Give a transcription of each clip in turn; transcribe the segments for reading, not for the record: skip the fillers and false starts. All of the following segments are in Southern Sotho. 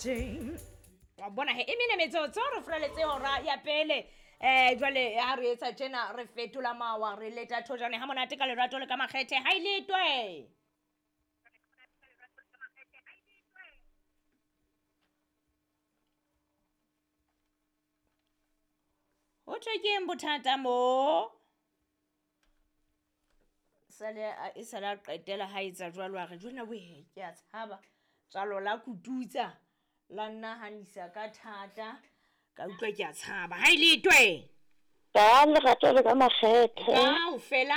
Majantjeng. Wa bona he, e mene metsotso re furaletse hora ya pele. Jwale ha re etsa tjena re fetola mawa, re leta thojane ha monate ka lerato le ka makgethe. Ha e letwe. Ho thwe keng bothata mo? Sale e sale a qetela ha etsa jwalo, a re jona we, ke a tshaba. Tswalo la kututsa, la nnahanisa ka thata, ka utlwa ke a tshaba. Ha e letwe. Ka lerato le ka makgethe. Kaofela.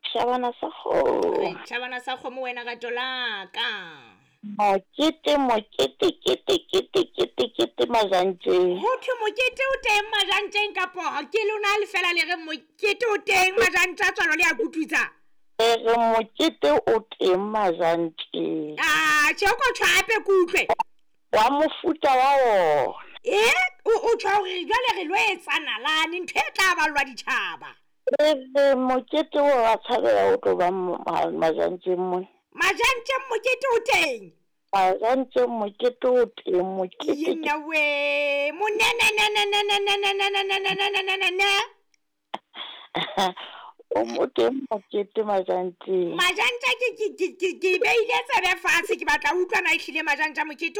Tjhabana sa kgomo. Re tjhabana sa kgomo wena rato la ka. Mokete, mokete, kete, kete, kete, kete Majantjeng. Ho thwe mokete o teng Majantjeng kapo ke lona le fela le re mokete o teng Majantja tswalo le a kututsa? Re re mokete o teng Majantjeng. Ah, tjhe o ko tjho hape ke utlwe. Wa mofuta wa wona. E, o tjho hore jwale re lo etsa nalane ntho e tla ballwa ditjhaba. Re re mokete o wa tshabeha o tlo ba Majantjeng mona. Majantjeng mokete o teng. Majantjeng mokete o teng, mokete. Yena we, monenenenenenenenenenenenenenenenene. O mo teng mokete Majantjeng. Majantja ke beile tsebe fatshe, ke batla ho utlwa na ehlile Majantja mokete